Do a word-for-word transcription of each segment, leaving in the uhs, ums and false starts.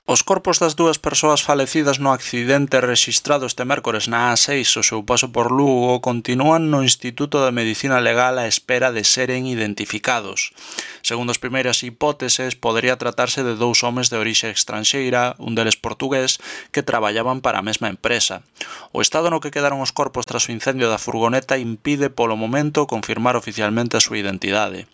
Os corpos das dúas persoas falecidas no accidente rexistrado este mércores na A seis ao seu paso por Lugo continúan no Instituto de Medicina Legal á espera de seren identificados. Segundo as primeiras hipóteses, podería tratarse de dous homes de orixe estranxeira, un deles portugués, que traballaban para a mesma empresa. O estado no que quedaron os corpos tras o incendio da furgoneta impide polo momento confirmar oficialmente a súa identidade.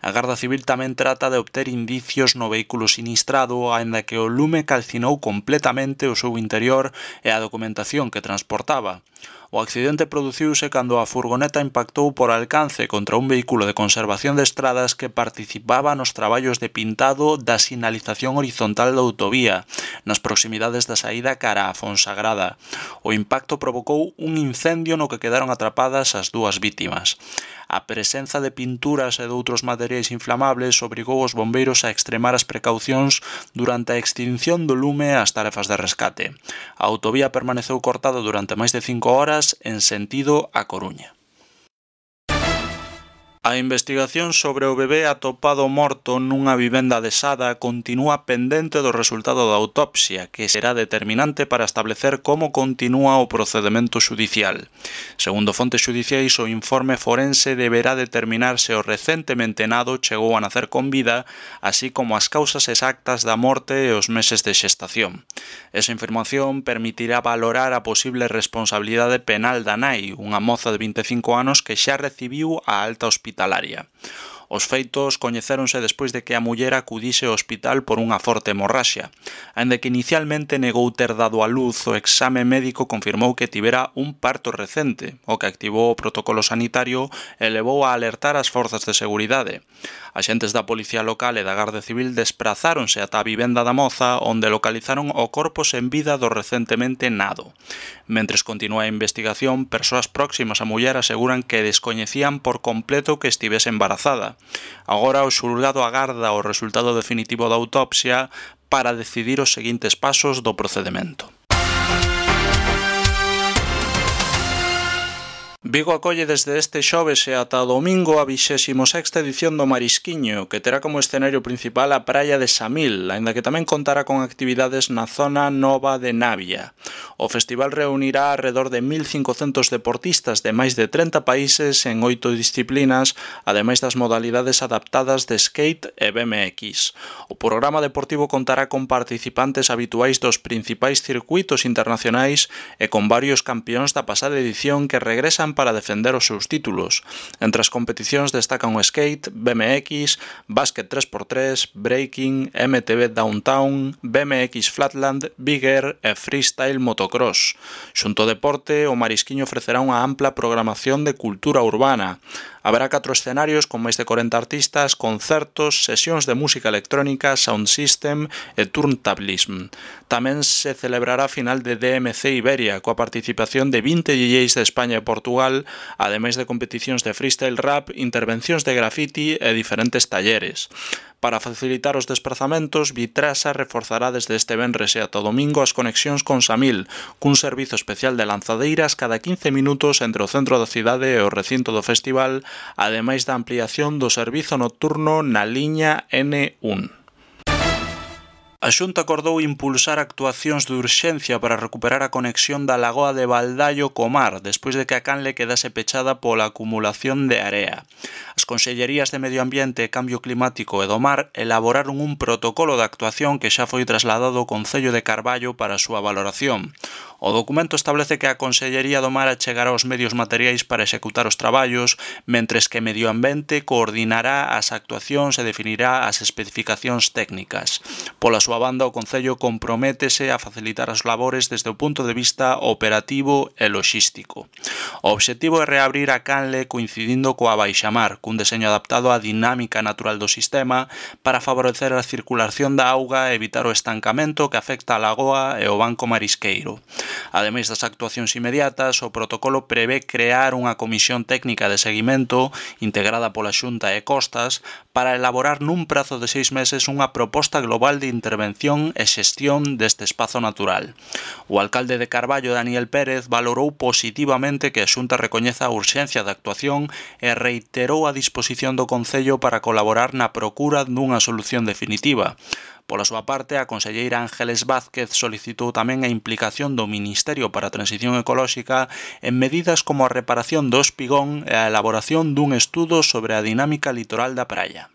A Garda Civil tamén trata de obter indicios no vehículo sinistrado, aínda que o lume calcinou completamente o seu interior e a documentación que transportaba. O accidente produciuse cando a furgoneta impactou por alcance contra un vehículo de conservación de estradas que participaba nos traballos de pintado da sinalización horizontal da autovía, nas proximidades da saída cara a Fonsagrada. O impacto provocou un incendio no que quedaron atrapadas as dúas vítimas. A presenza de pinturas e doutros materiais inflamables obrigou os bombeiros a extremar as precaucións durante a extinción do lume e as tarefas de rescate. A autovía permaneceu cortada durante máis de cinco horas en sentido a Coruña. A investigación sobre o bebé atopado morto nunha vivenda adesada continúa pendente do resultado da autopsia, que será determinante para establecer como continúa o procedemento xudicial. Segundo fontes xudiciais, o informe forense deberá determinar se o recentemente nado chegou a nacer con vida, así como as causas exactas da morte e os meses de xestación. Esa información permitirá valorar a posible responsabilidade penal da nai, unha moza de vinte e cinco anos que xa recibiu a alta hospitalaria. Os feitos coñecéronse despois de que a muller acudise ao hospital por unha forte hemorraxia. Aínda que inicialmente negou ter dado a luz, o exame médico confirmou que tivera un parto recente, o que activou o protocolo sanitario e levou a alertar as forzas de seguridade. Axentes da Policía Local e da Garda Civil desprazáronse ata a vivenda da moza, onde localizaron o corpo sen vida do recentemente nado. Mentres continúa a investigación, persoas próximas á muller aseguran que descoñecían por completo que estivese embarazada. Agora o xulgado agarda o resultado definitivo da autopsia para decidir os seguintes pasos do procedemento. Vigo acolle desde este xoves e ata o domingo a vixésima sexta edición do Marisquiño, que terá como escenario principal a praia de Samil, aínda que tamén contará con actividades na zona nova de Navia. O festival reunirá alrededor de mil cincocentos deportistas de máis de trinta países en oito disciplinas, ademais das modalidades adaptadas de skate e B M X. O programa deportivo contará con participantes habituais dos principais circuitos internacionais e con varios campións da pasada edición que regresan para defender os seus títulos. Entre as competicións destacan o skate, B M X, básquet tres por tres, breaking, M T B Downtown, B M X Flatland, Big Air e freestyle motocross. Xunto ao deporte, o Marisquiño ofrecerá unha ampla programación de cultura urbana. Haberá catro escenarios con máis de corenta artistas, concertos, sesións de música electrónica, sound system e turntablism. Tamén se celebrará a final de D M C Iberia, coa participación de vinte D Js de España e Portugal, ademais de competicións de freestyle rap, intervencións de graffiti e diferentes talleres. Para facilitar os desplazamentos, Vitrasa reforzará desde este venres e ata o domingo as conexións con Samil, cun servizo especial de lanzadeiras cada quince minutos entre o centro da cidade e o recinto do festival, ademais da ampliación do servizo nocturno na liña N un. A Xunta acordou impulsar actuacións de urxencia para recuperar a conexión da lagoa de Baldallo co mar, despois de que a canle quedase pechada pola acumulación de area. As Consellerías de Medio Ambiente, Cambio Climático e do Mar elaboraron un protocolo de actuación que xa foi trasladado ao Concello de Carballo para a súa valoración. O documento establece que a Consellería do Mar achegará os medios materiais para executar os traballos, mentres que Medio Ambiente coordinará as actuacións e definirá as especificacións técnicas. Pola súa banda, o Concello comprométese a facilitar as labores desde o punto de vista operativo e loxístico. O obxectivo é reabrir a canle coincidindo coa baixamar, cun deseño adaptado á dinámica natural do sistema para favorecer a circulación da auga e evitar o estancamento que afecta a lagoa e o banco marisqueiro. Ademais das actuacións inmediatas, o protocolo prevé crear unha comisión técnica de seguimento integrada pola Xunta e Costas para elaborar nun prazo de seis meses unha proposta global de intervención e xestión deste espazo natural. O alcalde de Carballo, Daniel Pérez, valorou positivamente que a Xunta recoñeza a urxencia da actuación e reiterou a disposición do Concello para colaborar na procura dunha solución definitiva. Pola súa parte, a conselleira Ángeles Vázquez solicitou tamén a implicación do Ministerio para a Transición Ecolóxica en medidas como a reparación do espigón e a elaboración dun estudo sobre a dinámica litoral da praia.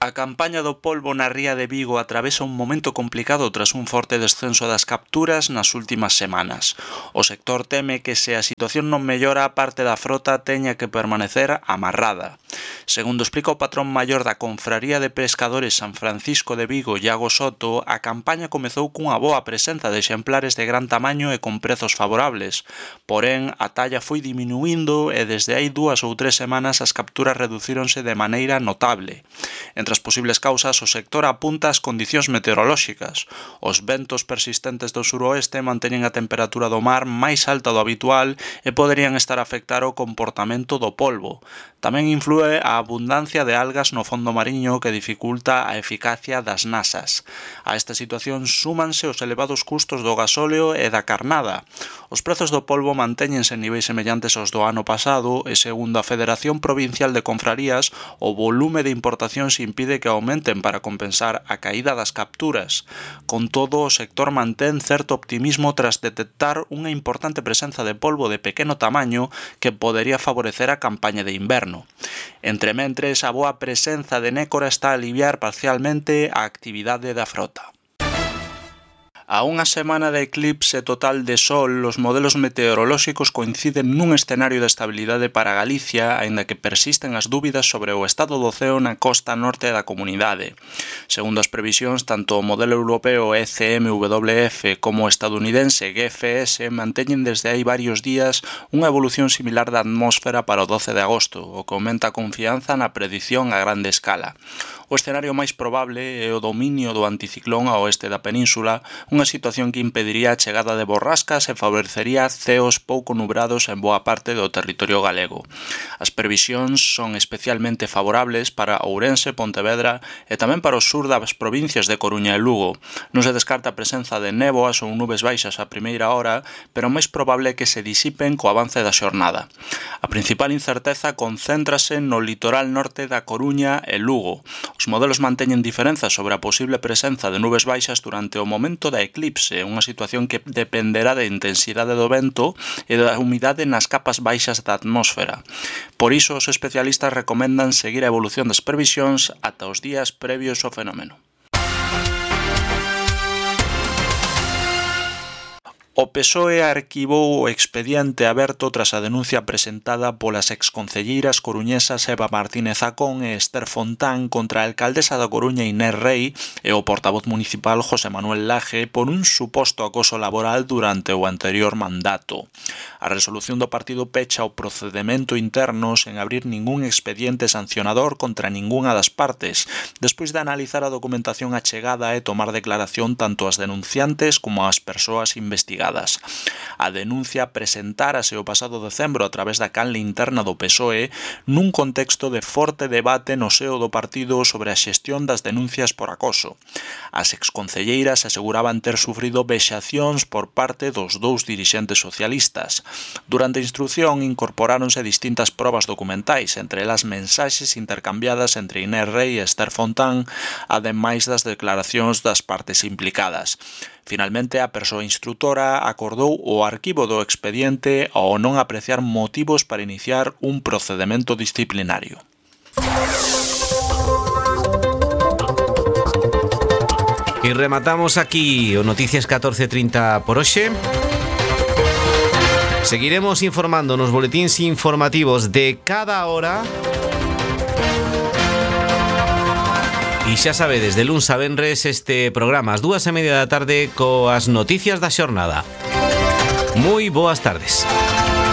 A campaña do polbo na ría de Vigo atravesa un momento complicado tras un forte descenso das capturas nas últimas semanas. O sector teme que se a situación non mellora, parte da frota teña que permanecer amarrada. Segundo explica o patrón maior da Confraría de Pescadores San Francisco de Vigo, Iago Soto, a campaña comezou cunha boa presenza de exemplares de gran tamaño e con prezos favorables. Porén, a talla foi diminuindo e desde hai dúas ou tres semanas as capturas reducíronse de maneira notable. Entre as posibles causas, o sector apunta as condicións meteorolóxicas. Os ventos persistentes do suroeste manteñen a temperatura do mar máis alta do habitual e poderían estar a afectar o comportamento do polbo. Tamén inflúe a abundancia de algas no fondo mariño que dificulta a eficacia das nasas. A esta situación súmanse os elevados custos do gasóleo e da carnada. Os prezos do polbo mantéñense en niveis semellantes aos do ano pasado e, segundo a Federación Provincial de Confrarías, o volume de importacións impide que aumenten para compensar a caída das capturas. Con todo, o sector mantén certo optimismo tras detectar unha importante presenza de polbo de pequeno tamaño que podería favorecer a campaña de inverno. Entrementres, a boa presenza de nécora está a aliviar parcialmente a actividade da frota. A unha semana de eclipse total de sol, os modelos meteorolóxicos coinciden nun escenario de estabilidade para Galicia, aínda que persisten as dúbidas sobre o estado do ceo na costa norte da comunidade. Segundo as previsións, tanto o modelo europeo E C M W F como o estadounidense G F S manteñen desde hai varios días unha evolución similar da atmósfera para o doce de agosto, o que aumenta a confianza na predición a grande escala. O escenario máis probable é o dominio do anticiclón ao oeste da península, unha situación que impediría a chegada de borrascas e favorecería ceos pouco nubrados en boa parte do territorio galego. As previsións son especialmente favorables para Ourense, Pontevedra e tamén para o sur das provincias de Coruña e Lugo. Non se descarta a presenza de néboas ou nubes baixas a primeira hora, pero máis probable é que se disipen co avance da xornada. A principal incerteza concéntrase no litoral norte da Coruña e Lugo. Os modelos manteñen diferenzas sobre a posible presenza de nubes baixas durante o momento da eclipse, unha situación que dependerá da intensidade do vento e da humidade nas capas baixas da atmósfera. Por iso, os especialistas recomendan seguir a evolución das previsións ata os días previos ao fenómeno. O P S O E arquivou o expediente aberto tras a denuncia presentada polas exconcelleiras coruñesas Eva Martínez Acón e Esther Fontán contra a alcaldesa da Coruña Inés Rei e o portavoz municipal José Manuel Laje por un suposto acoso laboral durante o anterior mandato. A resolución do partido pecha o procedemento interno sen abrir ningún expediente sancionador contra ningunha das partes, despois de analizar a documentación achegada e tomar declaración tanto as denunciantes como as persoas investigadas. A denuncia presentárase o pasado decembro a través da canle interna do P S O E nun contexto de forte debate no seo do partido sobre a xestión das denuncias por acoso. As exconcelleiras aseguraban ter sufrido vexacións por parte dos dous dirixentes socialistas. Durante a instrucción incorporáronse distintas probas documentais, entre elas mensaxes intercambiadas entre Inés Rei e Esther Fontán, ademais das declaracións das partes implicadas. Finalmente, a persoa instrutora acordou o arquivo do expediente ao non apreciar motivos para iniciar un procedemento disciplinario. E rematamos aquí o Noticias catorce trinta por hoxe. Seguiremos informando nos boletíns informativos de cada hora. E xa sabedes, de luns a venres este programa ás dúas e media da tarde coas noticias da xornada. Moi boas tardes.